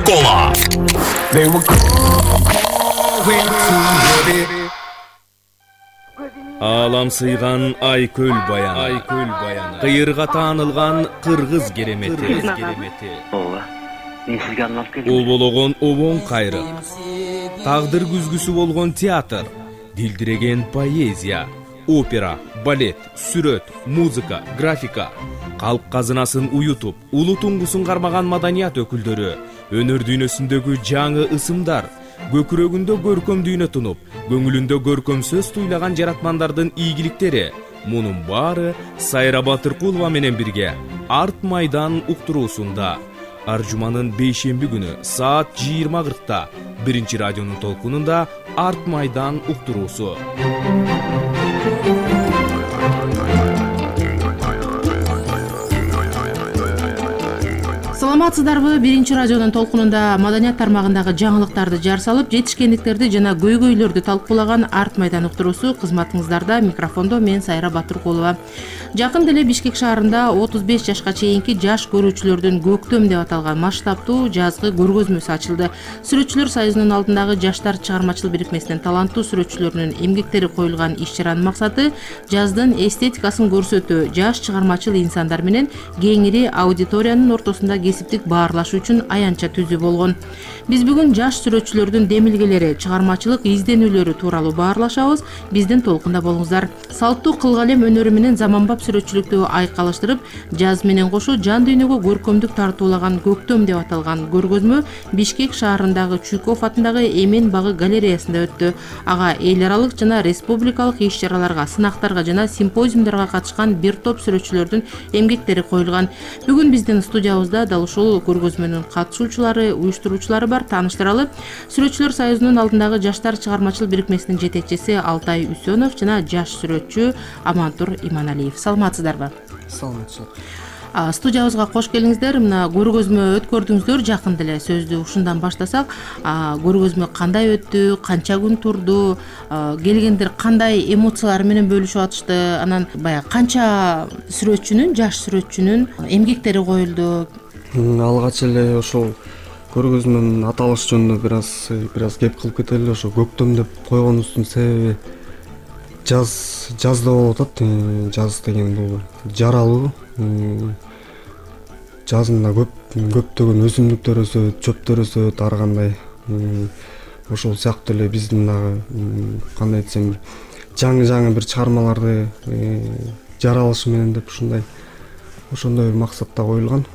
Кола. Алам сыйган Айкөл баяны, кыйырга таанылган кыргыз керемети. Ооба. Мен сизге арналып келдим. Олбологон обоң кайры, тагдыр күзгүсү болгон театр, дилдиреген поэзия, опера, балет, сүрөт, музыка, графика, калк казынасын уютуп, улуу туңгусун кармаган маданият өкүлдөрү, өнөр дүйнөсүндөгү жаңы ысымдар, көкүрөгүндө көркөм дүйнө тунуп, көңүлүндө көркөм сөз туйлаган жаратмандардын ийгиликтери. Мунун баары Сайра Батыркулова менен бирге Арт майдан уктуруусунда ар жуманын бейшемби күнү саат 20:40 биринчи радионун толкунунда Арт майдан уктуруусу. Саламатсыздарбы? Биринчи радионун толкунунда маданият тармагындагы жаңылыктарды жар салып, жетишкендиктерди жана көйгөйлөрдү талкуулаган Арт майдан уктуруусу кызматыңыздарда. Микрофондо мен Сайра Батыркулова. Жакын деле Бишкек шаарында 35 жашка чейинки жаш көрүүчүлөрдүн көктөм деп аталган масштабтуу жазгы көргөзмөсү ачылды. Сүрөтчүлөр союзунун алдындагы жаштар чыгармачыл бирикмесинин таланттуу сүрөтчүлөрүнүн эмгектери коюлган иш-чаранын максаты жаздын эстетикасын көрсөтүү, жаш чыгармачыл инсандар менен кеңири аудиториянын ортосунда кесиптик баарлашуу үчүн аянтча түзүү болгон. Биз бүгүн жаш сүрөтчүлөрдүн демилгелери, чыгармачылык изденүүлөрү тууралуу баарлашабыз. Биздин толкунда болуңуздар. Салттуу кылгалем өнөрү менен заманбап сүрөтчүлүктү айкалыштырып, жаз менен кошо жан дүйнөгө көркөмдүк тартуулаган көктөм деп аталган көргөзмө Бишкек шаарындагы Чуйков атындагы Эмен багы галереясында өттү. Ага эл аралык жана республикалык иш-чараларга, сынактарга жана симпозиумдарга катышкан бир топ сүрөтчүлөрдүн эмгектери коюлган. Бүгүн биздин студиябызда дал ушул көргөзмөнүн катышуучулары, уюштуруучулары бар. Тааныштыралы. Сүрөтчүлөр союзунун алдындагы жаштар чыгармачыл бирикмесинин жетекчиси Алтай Үсөнов жана жаш сүрөтчү Амантур Иманалиев. Саламатсыздарбы? Саламатчылык. Студиябызга кош келиңиздер. Мына көргөзмө өткөрдүңүздөр. Жакын деле сөздү ушундан баштасак, көргөзмө кандай өттү, канча күн турду, келгендер кандай эмоциялар менен бөлүшүп атышты, анан баягы канча сүрөтчүнүн, жаш сүрөтчүнүн эмгектери коюлду? Алгач эле ошол көргөзмөнүн аталышы жөнүндө бир аз кеп кылып кетели. Ошо көктөм деп койгонубуздун себеби жаз деп болуп атат. Жаз деген бул жаралуу. Жазында көптөгөн өсүмдүктөр өсөт, чөптөр өсөт, ар кандай. Ошол сыяктуу эле биздин дагы кандай десем, жаңы бир чыгармаларды жаралышы менен деп ошондой бир максатта коюлган.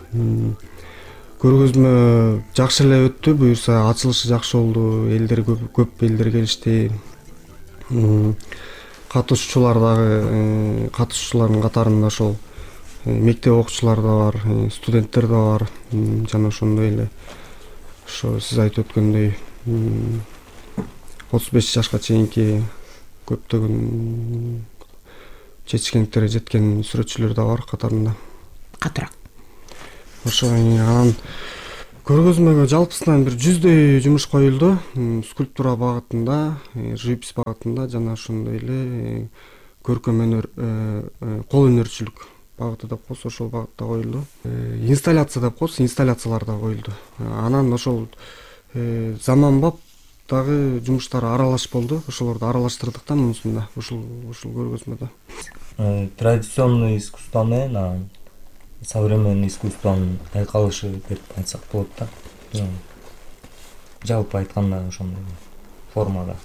Көргөзмө жакшы эле өттү, буюрса ачылышы жакшы болду. Элдер көп элдер келишти. Катышуучулардын катарында ошол мектеп окуучулары да бар, студенттер да бар, жана ошондой эле ошо сиз айтып өткөндөй 35 жашка чейинки көптөгөн жетишкендиктерге жеткен сүрөтчүлөр да бар катарында. Катыраак. Ошо анан көргөзмөгө жалпысынан бир 100дөй жумуш коюлду. Скульптура багытында, живопись багытында жана ошондой эле көркөм өнөр, кол өнөрчүлүк багыты деп коебуз, ошол багытта коюлду. Инсталляция деп коебуз, инсталляциялар да коюлду. Анан ошол заманбап дагы жумуштар аралаш болду. Ошолорду аралаштырдык да мунусунда, ушул көргөзмөдө. Традиционный искусство менен современный искусствонун айкалышы деп айтсак болот да. Жалпы айтканда ошондой формада.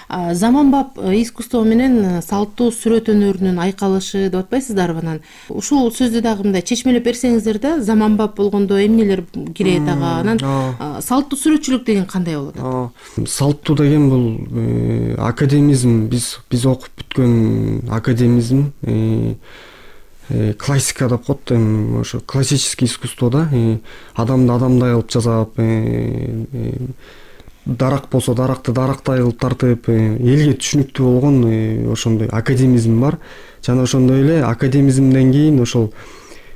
Заманбап искусство менен салттуу сүрөт өнөрүнүн айкалышы деп атпайсыздарбы? Анан ушул сөздү дагы мындай чечмелеп берсеңиздер да, заманбап болгондо эмнелер кирет ага? Анан салттуу сүрөтчүлүк деген кандай болот? Салттуу деген бул академизм, биз окуп бүткөн академизм, классика деп коет, ошо классический искусство да. Адамды адамдай кылып жасап, дарак болсо даракты дарактай кылып тартып, элге түшүнүктүү болгон ошондой академизм бар. Жана ошондой эле академизмден кийин ошол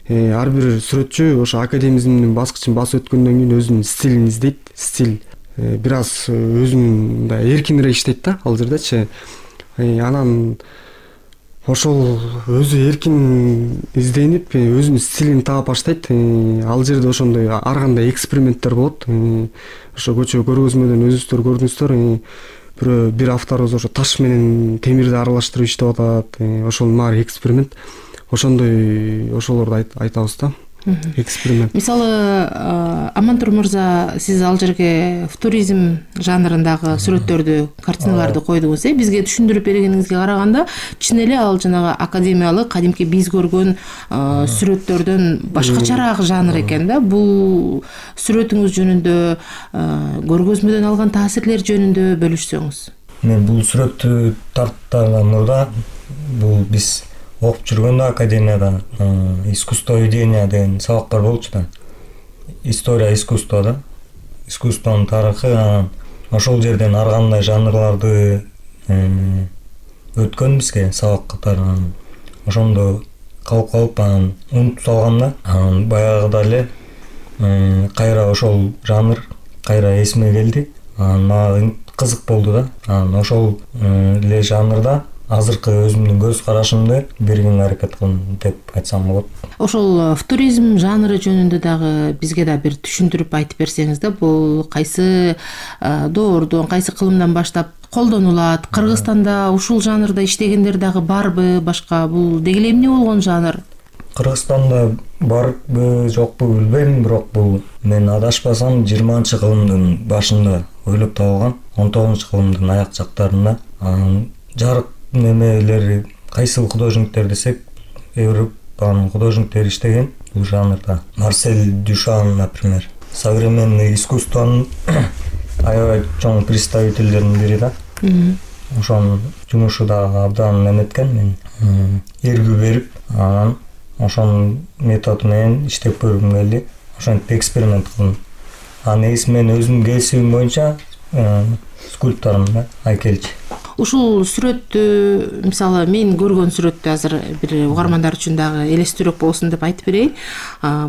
ар бир сүрөтчү ошо академизмдин баскычын басып өткөндөн кийин өзүнүн стилин издейт. Стиль бир аз өзүнүн мындай эркинирээк иштейт да ал жердечи. Анан ошол өзү эркин изденип өзүнүн стилин таап баштайт. Ал жерде ошондой ар кандай эксперименттер болот. Ошо көчө көргөзмөдөн өзүңүздөр көрдүңүздөр. Бир авторубуз ошо таш менен темирди аралаштырып иштеп атат. Ошонун баары эксперимент. Ошолорду айтабыз да. Эксперимент. Мисалы, Амантур мырза, сиз ал жерге футуризм жанрындагы сүрөттөрдү, картиналарды койдуңуз. Бизге түшүндүрүп бергениңизге караганда, чын эле ал жанагы академиялык, кадимки биз көргөн сүрөттөрдөн башкачараак жанр экен да. Бул сүрөтүңүз жөнүндө, көргөзмөдөн алган таасирлер жөнүндө бөлүшсөңүз. Мен бул сүрөттү тарттаган мурда бул биз окуп жүргөндө академияда искусство ведения деген сабактар болчу да. История искусства да. Искусствонун тарыхы, ошол жерден ар кандай жанрларды өткөн бизге сабак катары. Ошондо калып унутуп салгам да. Баягыда эле кайра ошол жанр кайра эсиме келди. Мага кызык болду да. Ошол эле жанрда азыркы өзүмдүн көз карашымды бергенге аракет кылдым деп айтсам болот. Ошол футуризм жанры жөнүндө дагы бизге да бир түшүндүрүп айтып берсеңиз да, бул кайсы доордон, кайсы кылымдан баштап колдонулат? Кыргызстанда ушул жанрда иштегендер дагы барбы, башка? Бул деги эле эмне болгон жанр? Кыргызстанда барбы, жокпу билбейм, бирок бул мен адашпасам 20-кылымдын башында ойлоп табылган, 19-кылымдын аяк жактарында. Жарык немелери кайсыл художниктер десек, Европанын художниктери иштеген бул жанрда. Марсель Дюшан, например, современный искусствонун аябай чоң представительдеринин бири да. Ошонун жумушу да абдан эметкен. Мен эргүү берип, анан ошонун методу менен иштеп көргүм келди. Ошентип эксперимент кылдым. Негизи мен өзүмдүн кесибим боюнча скульптормун да, айкелчи. Ушул сүрөттү, мисалы, мен көргөн сүрөттү азыр бир угармандар үчүн дагы элестүүрөөк болсун деп айтып берейин.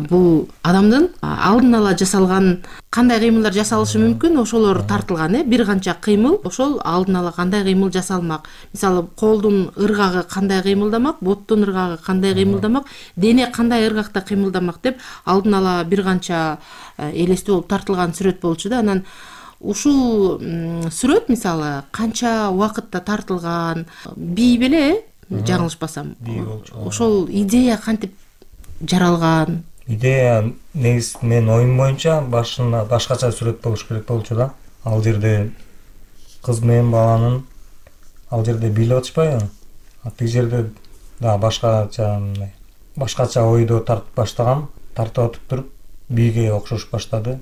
Бул адамдын алдын ала жасалган кандай кыймылдар жасалышы мүмкүн, ошолор тартылган. Бир канча кыймыл, ошол алдын ала кандай кыймыл жасалмак. Мисалы, колдун ыргагы кандай кыймылдамак, боттун ыргагы кандай кыймылдамак, дене кандай ыргакта кыймылдамак деп алдын ала бир канча элестүү болуп тартылган сүрөт болчу да. Анан ушул сүрөт мисалы канча убакытта тартылган, бий беле, жаңылышпасам. Ошол идея кантип жаралган? Идея негизи мен оюм боюнча башында башкача сүрөт болуш керек болчу да. Ал жерде кыз менен баланын ал жерде бийлеп атышпайбы? Тиги жерде да башкача ойдо тартып баштагам, тартып атып туруп бийге окшош баштады.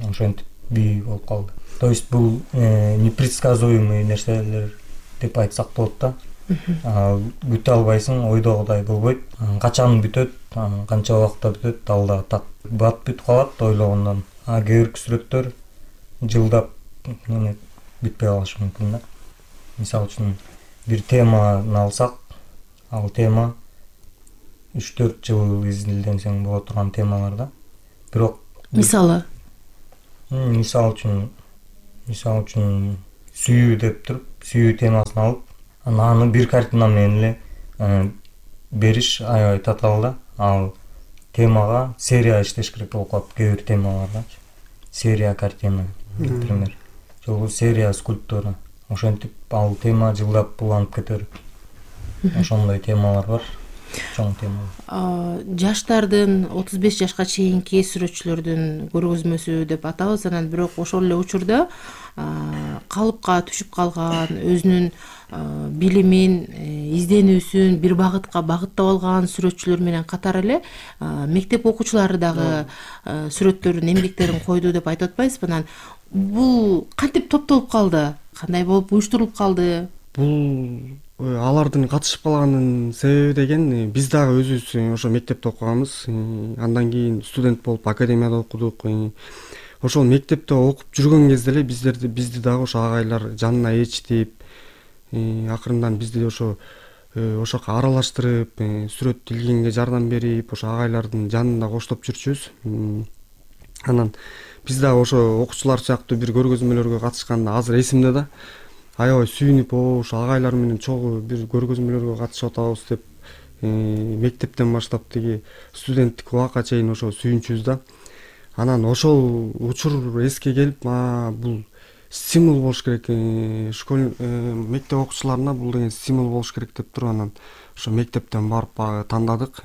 Ошентип бий болуп калды. То есть бул непредсказуемый нерселер деп айтсак болот да. Күтө албайсың, ойдогудай болбойт. Качан бүтөт, канча убакытта бүтөт, ал да так бат бүтүп калат ойлогондон. Кээ бир сүрөттөр жылдап бүтпөй калышы мүмкүн да. Мисалы үчүн бир теманы алсак, ал тема 3-4 жыл изилденсең боло турган темалар да. Бирок мисалы үчүн сүйүү деп туруп, сүйүү темасын алып, аны бир картина менен эле бериш аябай татаал да. Ал темага серия иштеш керек болуп калат кээ бир темаларда. Серия картина, например. Жолу серия скульптура. Ошентип ал тема жылдап уланып кетер. Ошондой темалар бар. Чоң тема. Жаштардын 35 жашка чейинки сүрөтчүлөрдүн көргөзмөсү деп атабыз. Анан бирок ошол эле учурда калыпка түшүп калган, өзүнүн билимин, изденүүсүн бир багытка багыттап алган сүрөтчүлөр менен катар эле мектеп окуучулары дагы сүрөттөрүн, эмгектерин койду деп айтып атпайсызбы? Анан бул кантип топтолуп калды? Кандай болуп уюштурулуп калды? Бул алардын катышып калганынын себеби деген биз дагы өзүбүз ошо мектепте окуганбыз. Андан кийин студент болуп академияда окудук. Ошол мектепте окуп жүргөн кезде эле бизди дагы ошо агайлар жанына ээрчитип, акырындан бизди ошоко аралаштырып, сүрөт илгенге жардам берип, ошо агайлардын жанында коштоп жүрчүбүз. Анан биз дагы ошо окуучулар сыяктуу бир көргөзмөлөргө катышканда азыр эсимде да. аябай сүйүнүп, ошо агайлар менен чогуу бир көргөзмөлөргө катышып атабыз деп мектептен баштап тиги студенттик убакка чейин ошо сүйүнчүбүз да. Анан ошол учур эске келип, бул стимул болуш керек, мектеп окуучуларына бул деген стимул болуш керек деп туруп, анан ошо мектептен барып баягы тандадык.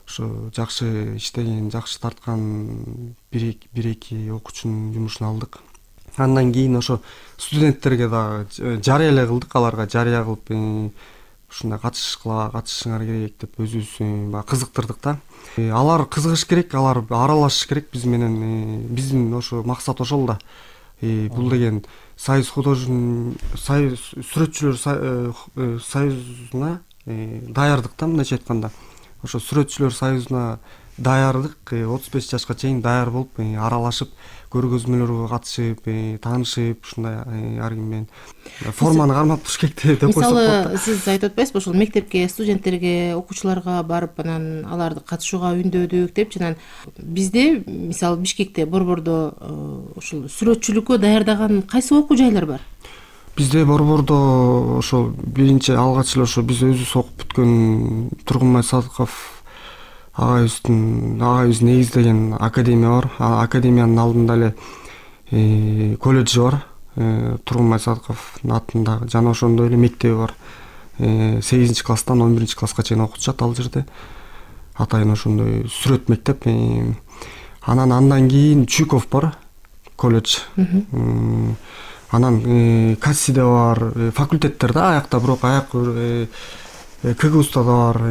Ошо жакшы иштеген, жакшы тарткан бир эки окуучунун жумушун алдык. Андан кийин ошо студенттерге дагы жарыя эле кылдык, аларга жарыя кылып ушундай катышышыңар керек деп өзүбүз баягы кызыктырдык да. Алар кызыгыш керек, алар аралашыш керек биз менен. Биздин ошо максат ошол да. Бул деген союз сүрөтчүлөр союзуна даярдык да, мындайча айтканда. Ошо сүрөтчүлөр союзуна даярдык, 35 жашка чейин даяр болуп, аралашып, көргөзмөлөргө катышып, таанышып, ушундай ар ким менен форманы кармап туруш керек деп койсок болот. Мисалы, сиз айтып атпайсызбы, ошол мектепке, студенттерге, окуучуларга барып, анан аларды катышууга үндөдүк деп, жана бизде, мисалы, Бишкекте, Борбордо ушул сүрөтчүлүккө даярдаган кайсы окуу жайлар бар? Бизде Борбордо ошол биринчи алгач эле ошо биз өзүбүз окуп бүткөн Тургунбай Садыков агайыбыз негиздеген академия бар. Академиянын алдында эле колледжи бар. Тургунбай Садыковдун атындагы, жана ошондой эле мектеби бар. 8-класстан 11-класска чейин окутушат ал жерде. Атайын ошондой сүрөт мектеп. Андан кийин Чуйков бар, колледж. Анан Кассиде бар, факультеттер да, аякта, бирок КГУста да бар.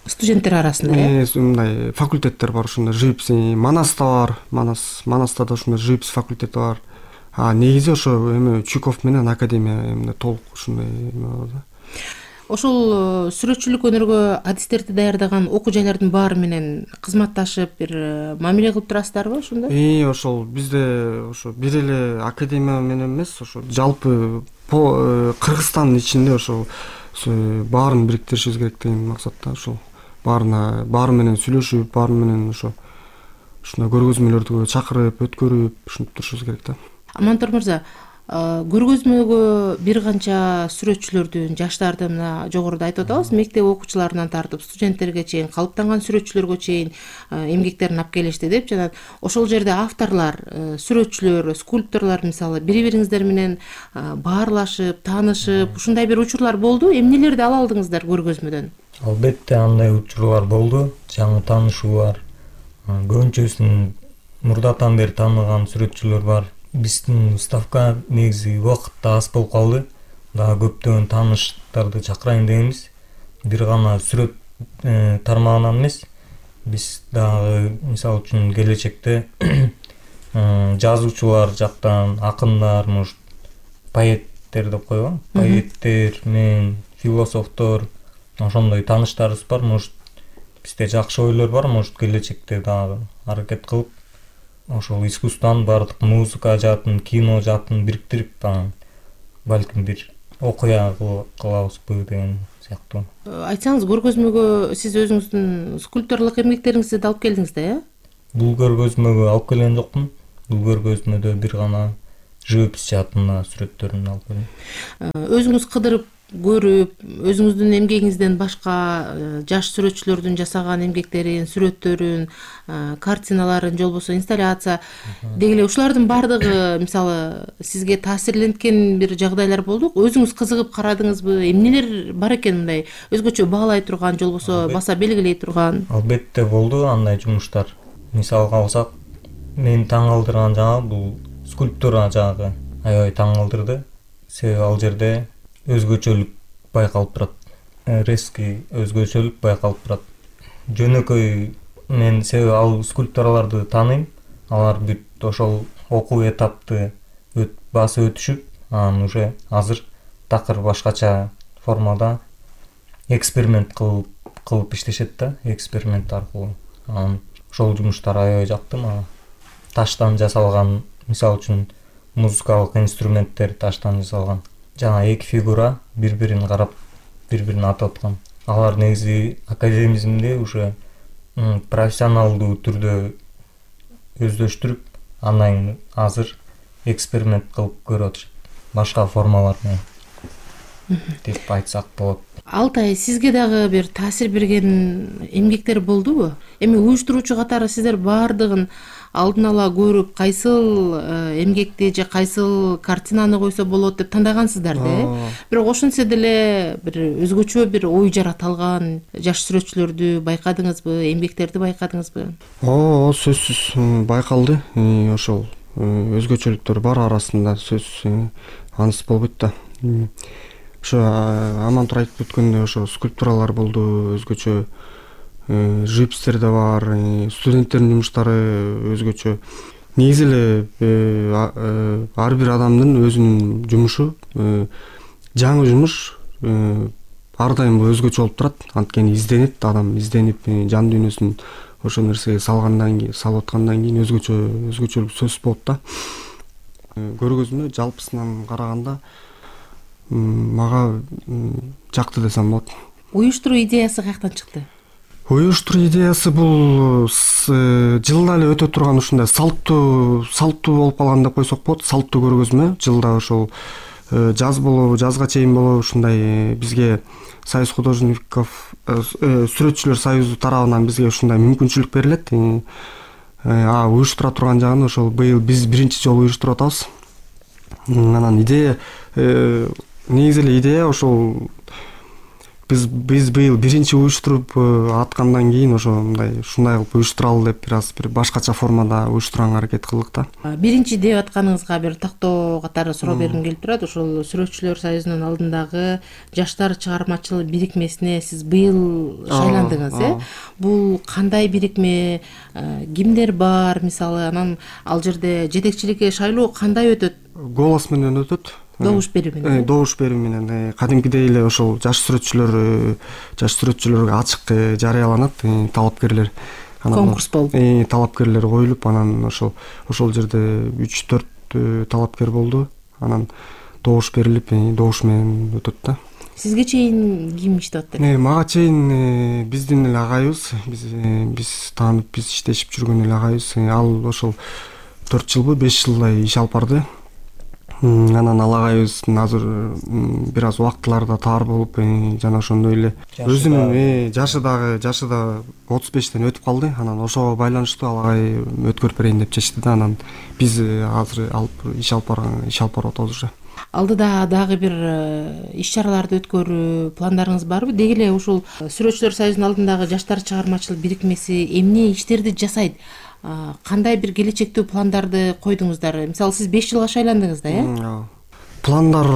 Студенттер арасында, мындай факультеттер бар, ошондой живопись. Манаста бар, Манаста да ошондой живопись факультети бар. Негизи ошо Чуйков менен академия толук ушундай бар да. Ошол сүрөтчүлүк өнөргө адистерди даярдаган окуу жайлардын баары менен кызматташып, бир мамиле кылып турасыздарбы ошондой? Ошол бизде ошо бир эле академия менен эмес, ошо жалпы Кыргызстандын ичинде ошол баарын бириктиришибиз керек деген максатта, ошол баары менен сүйлөшүп, баары менен ушундай көргөзмөлөрдү чакырып, өткөрүп, ушинтип турушубуз керек да. Амантур мырза, көргөзмөгө бир канча сүрөтчүлөрдүн, жаштардын, жогоруда айтып атабыз, мектеп окуучуларынан тартып студенттерге чейин, калыптанган сүрөтчүлөргө чейин эмгектерин алып келишти деп, жана ошол жерде авторлор, сүрөтчүлөр, скульпторлор мисалы бири-бириңиздер менен баарлашып, таанышып, ушундай бир учурлар болду. Эмнелерди ала алдыңыздар көргөзмөдөн? Албетте андай учурлар болду, жаңы таанышуулар. Көбүнчөсүн мурдатан бери тааныган сүрөтчүлөр бар. Биздин уставка негизи убакытта аз болуп калды. Дагы көптөгөн тааныштарды чакырайын дегенбиз. Бир гана сүрөт тармагынан эмес, биз дагы мисалы үчүн келечекте жазуучулар жактан, акындар, может, поэттер деп койгон, поэттер менен философтор, ошондой тааныштарыбыз бар. Может, бизде жакшы ойлор бар, может, келечекте дагы аракет кылып ошол искусствонун баардык музыка жаатын, кино жаатын бириктирип, балким бир окуя кылабызбы деген сыяктуу. Айтсаңыз, көргөзмөгө сиз өзүңүздүн скульпторлук эмгектериңизди да алып келдиңиз да, э? Бул көргөзмөгө алып келген жокмун. Бул көргөзмөдө бир гана живопись жаатында сүрөттөрүн алып келдим. Өзүңүз кыдырып көрүп, өзүңүздүн эмгегиңизден башка жаш сүрөтчүлөрдүн жасаган эмгектерин, сүрөттөрүн, картиналарын, же болбосо инсталляция деги эле ушулардын баардыгы мисалы сизге таасирленткен бир жагдайлар болду. Өзүңүз кызыгып карадыңызбы? Эмнелер бар экен мындай өзгөчө баалай турган, же болбосо баса белгилей турган? Албетте болду андай жумуштар. Мисалга алсак, мени таң калтырган бул скульптура жагы аябай таң калтырды. Себеби ал жерде өзгөчөлүк байкалып турат. Резкий өзгөчөлүк байкалып турат. Жөнөкөй мен себеби ал скульптураларды тааныйм. Алар бүт ошол окуу этапты басып өтүшүп, анан уже азыр такыр башкача формада эксперимент кылып иштешет да, эксперимент аркылуу. Анан ошол жумуштар аябай жакты мага. Таштан жасалган, мисалы үчүн музыкалык инструменттер таштан жасалган. Жана эки фигура бири-бирин карап, бири-бирин атып аткан. Алар негизи академизмде уже профессионалдуу түрдө өздөштүрүп, андан азыр эксперимент кылып көрүп атышат. башка формалар менен деп айтсак болот. Алтай, сизге дагы бир таасир берген эмгектер болдубу? Эми уюштуруучу катары сиздер баардыгын алдын ала көрүп, кайсыл эмгекти же кайсыл картинаны койсо болот деп тандагансыздар да. Бирок ошентсе деле бир өзгөчө бир ой жарата алган жаш сүрөтчүлөрдү байкадыңызбы, эмгектерди байкадыңызбы? Сөзсүз байкалды. Ошол өзгөчөлүктөр бар арасында, сөзсүз аныс болбойт да. Ошо Амантур айтып өткөндөй ошо скульптуралар болду, өзгөчө живопистер да бар, студенттердин жумуштары өзгөчө. Негизи эле ар бир адамдын өзүнүн жумушу, жаңы жумуш ар дайым өзгөчө болуп турат. Анткени изденет, адам изденип жан дүйнөсүн ошо нерсеге салып аткандан кийин өзгөчөлүк сөзсүз болот да. Көргөзмө жалпысынан караганда мага жакты десем болот. Уюштуруу идеясы каяктан чыкты? Уюштуруу идеясы бул жылда эле өтө турган ушундай салттуу болуп калган деп койсок болот. Салттуу көргөзмө жылда ошол жаз болобу, жазга чейин болобу ушундай бизге Союз художников сүрөтчүлөр союзу тарабынан бизге ушундай мүмкүнчүлүк берилет. Уюштура турган жагын ошол быйыл биз биринчи жолу уюштуруп атабыз. Анан идея негизи эле идея ошол биз быйыл биринчи уюштуруп аткандан кийин ошо ушундай кылып уюштуралы деп бир башкача формада уюштурганга аракет кылдык да. Биринчи деп атканыңызга бир тактоо катары суроо бергим келип турат. Ошол сүрөтчүлөр союзунун алдындагы жаштар чыгармачыл бирикмесине сиз быйыл шайландыңыз, Бул кандай бирикме, кимдер бар мисалы, анан ал жерде жетекчиликке шайлоо кандай өтөт? Голос менен өтөт. Добуш берүү менен. Добуш берүү менен кадимкидей эле ошол жаш сүрөтчүлөргө ачык жарыяланат, талапкерлер. Конкурс болуп. Талапкерлер коюлуп, анан ошол жерде 3-4 талапкер болду. Анан добуш берилип, добуш менен өтөт да. Сизге чейин ким иштеп атты? Мага чейин биздин эле агайыбыз, биз таанып, биз иштешип жүргөн эле агайыбыз. Ал ошол 4 жылбы 5 жылдай иш алып барды. Анан ал агайыбыздын азыр бир аз убактыларда таар болуп, жана ошондой эле өзүнүн жашы да 35тен өтүп калды. Анан ошого байланыштуу ал агай өткөрүп берейин деп чечти да. Анан биз азыр иш алып барып атабыз уже. Алдыда дагы бир иш-чараларды өткөрүү пландарыңыз барбы? Деги эле ушул сүрөтчүлөр союзунун алдындагы жаштар чыгармачыл бирикмеси эмне иштерди жасайт? Кандай бир келечектүү пландарды койдуңуздар? Мисалы, сиз 5 жылга шайландыңыз да, Пландар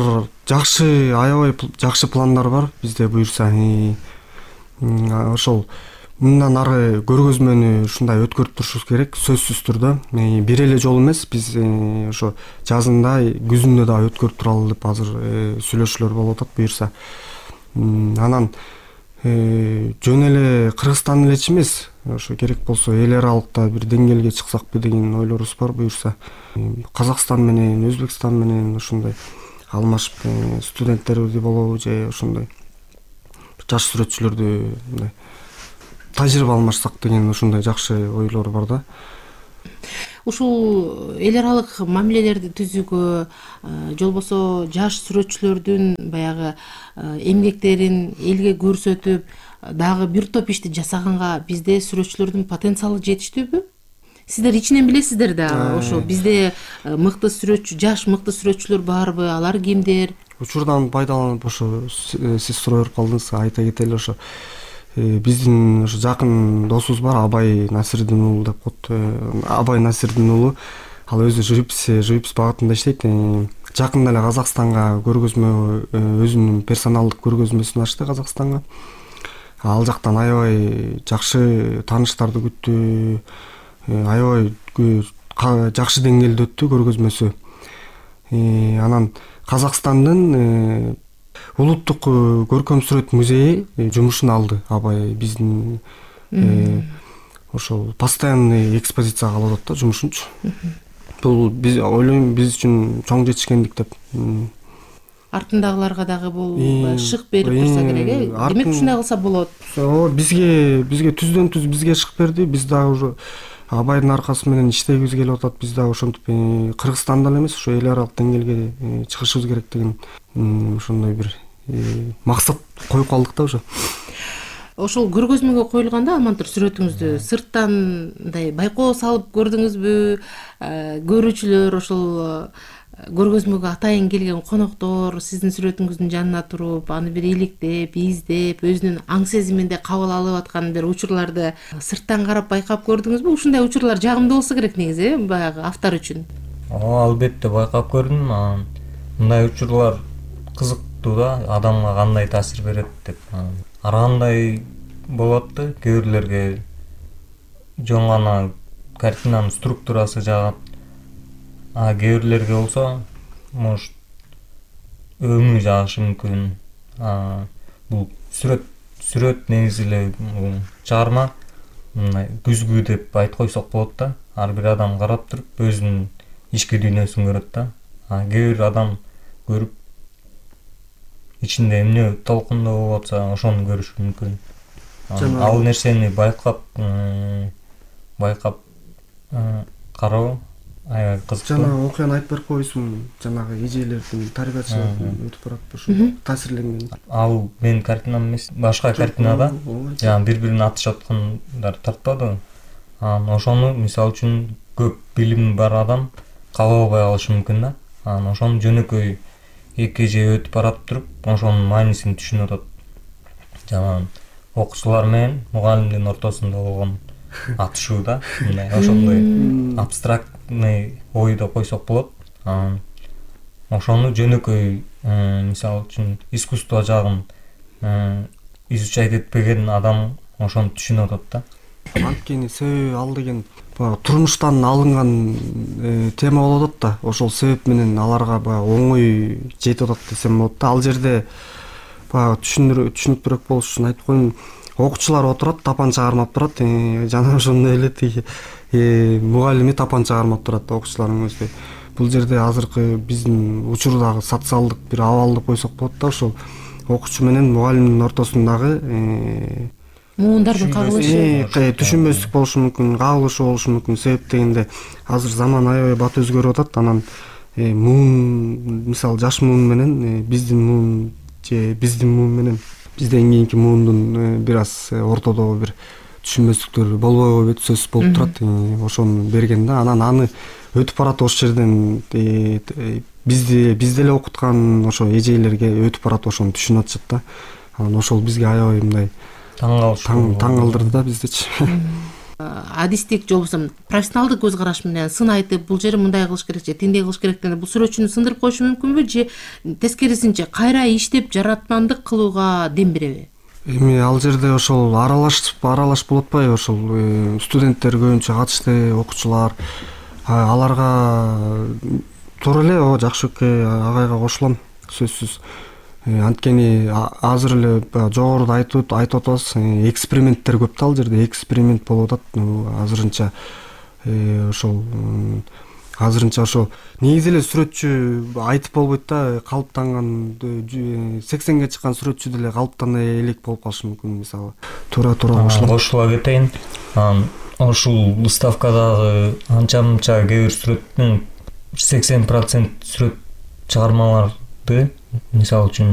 жакшы, аябай жакшы пландар бар бизде буюрса. Ошол мындан ары көргөзмөнү ушундай өткөрүп турушубуз керек, сөзсүз түрдө. Бир эле жолу эмес, биз ошо жазында, күзүндө дагы өткөрүп туралы деп азыр сүйлөшүүлөр болуп атат буюрса. Анан жөн эле Кыргызстан элечи эмес, ошо керек болсо эл аралыкта бир деңгээлге чыксакпы деген ойлорубуз бар буюрса. Казакстан менен, Өзбекстан менен ошондой алмашып студенттерди болобу же ошондой жаш сүрөтчүлөрдү тажрыйба алмашсак деген ошондой жакшы ойлор бар да. Ушул эл аралык мамилелерди түзүүгө, же болбосо жаш сүрөтчүлөрдүн баягы эмгектерин элге көрсөтүп, дагы бир топ ишти жасаганга бизде сүрөтчүлөрдүн потенциалы жетиштүүбү? Сиздер ичинен билесиздер да, ошо бизде жаш мыкты сүрөтчүлөр барбы, алар кимдер? Учурдан пайдаланып ошо сиз суроо берип калдыңыз, айта кетели, ошо биздин ошо жакын досубуз бар, Абай Насирдин уулу деп коет. Абай Насирдин уулу, ал өзү живопись багытында иштейт. Жакында эле Казакстанга көргөзмө, өзүнүн персоналдык көргөзмөсүн ачты Казакстанга. Ал жактан аябай жакшы тааныштарды күттү, аябай жакшы деңгээлде өттү көргөзмөсү. Анан Казакстандын улуттук көркөм сүрөт музейи жумушун алды. Абай биздин ошол постоянный экспозицияга алып атат да жумушунчу. Бул биз ойлойм биз үчүн чоң жетишкендик деп. Артындагыларга дагы бул шык берип турса керек, Демек ушундай кылса болот. Бизге түздөн түз бизге шык берди. Биз дагы уже Абайдын аркасы менен иштегибиз келип атат. Биз дагы ошентип Кыргызстанда эле эмес, ошо эл аралык деңгээлге чыгышыбыз керек деген ошондой бир максат коюп калдык да уже. Ошол көргөзмөгө коюлганда Алмантур сүрөтүңүздү сырттан мындай байкоо салып көрдүңүзбү? Көрүүчүлөр ошол көргөзмөгө атайын келген коноктор сиздин сүрөтүңүздүн жанына туруп, аны бир иликтеп, издеп, өзүнүн аң сезиминде кабыл алып аткан бир учурларды сырттан карап байкап көрдүңүзбү? Ушундай учурлар жагымдуу болсо керек негизи, баягы автор үчүн. Албетте байкап көрдүм. Мындай учурлар кызыктуу да, адамга кандай таасир берет деп. Ар кандай болот да, кээ бирлерге жөн гана картинанын структурасы жагат. Кээ бирлерге болсо, может, өңү жагышы мүмкүн. Бул сүрөт негизи эле чыгарма мындай күзгү деп айтып койсок болот да. Ар бир адам карап туруп өзүнүн ички дүйнөсүн көрөт да. Кээ бир адам көрүп ичинде эмне толкундоо болуп атса, ошону көрүшү мүмкүн. Ал нерсени байкап кароо аябай кызыктуу. Жана окуяны айтып берип коесуң, жанагы эжелердин тарбиячылыгын өтүп барат ошо таасирленген. Ал менин картинам эмес, башка картинада жана бири-бирин атышып аткандар тартпады. Ошону мисалы үчүн көп билими бар адам кабыл албай калышы мүмкүн да. Ошону жөнөкөй эки эже өтүп барат туруп, ошонун маанисин түшүнүп атат. Жана окуучулар менен мугалимдин ортосунда болгон атышуу да, мындай ошондой абстрактный ой деп койсок болот. Ошону жөнөкөй мисалы үчүн искусство жагын изучать этпеген адам ошону түшүнүп атат да. Анткени себеби ал деген турмуштан алынган тема болуп атат да. Ошол себеп менен аларга баягы оңой жетип атат десем болот да. Ал жерде баягы түшүнүктүүрөөк болуш үчүн айтып коеюн. Окуучулар отурат, тапанча кармап турат. Жана ошондой эле тиги мугалими тапанча кармап турат окуучулардын өзү. Бул жерде азыркы биздин учурдагы социалдык бир абал деп койсок болот да. Ошол окуучу менен мугалимдин ортосундагы муундардын кагылышы, түшүнбөстүк болушу мүмкүн, кагылышы болушу мүмкүн. Себеп дегенде азыр заман аябай бат өзгөрүп атат. Анан муун, мисалы жаш муун менен биздин муун же биздин муун менен бизден кийинки муундун бир аз ортодогу бир түшүнбөстүктөр болбойбу деп сөзсүз болуп турат. Ошону берген да. Анан аны өтүп барат ошол жерден бизди эле окуткан ошо эжелерге өтүп барат, ошону түшүнүп атышат да. Анан ошол бизге аябай мындай таң калтырды да биздичи. Адистик же болбосо профессионалдык көз караш менен сын айтып, бул жери мындай кылыш керек же тиндей кылыш керек дегенде бул сүрөтчүнү сындырып коюшу мүмкүнбү же тескерисинче кайра иштеп жаратмандык кылууга дем береби? Эми ал жерде ошол аралаш болуп атпайбы? Ошол студенттер көбүнчө катышты, окуучулар. Аларга туура эле Жакшөккө агайга кошулам, сөзсүз. Анткени азыр эле жогоруда айтып атабыз, эксперименттер көп да, ал жерде эксперимент болуп атат. Азырынча ошол ошо негизи эле сүрөтчү айтып болбойт да, калыптанган 80ге чыккан сүрөтчү деле калыптана элек болуп калышы мүмкүн. Мисалы туура кошулам. Кошула кетейин. Ушул выставкадагы анча-мынча кээ бир сүрөттүн 80% сүрөт чыгармаларды, мисалы үчүн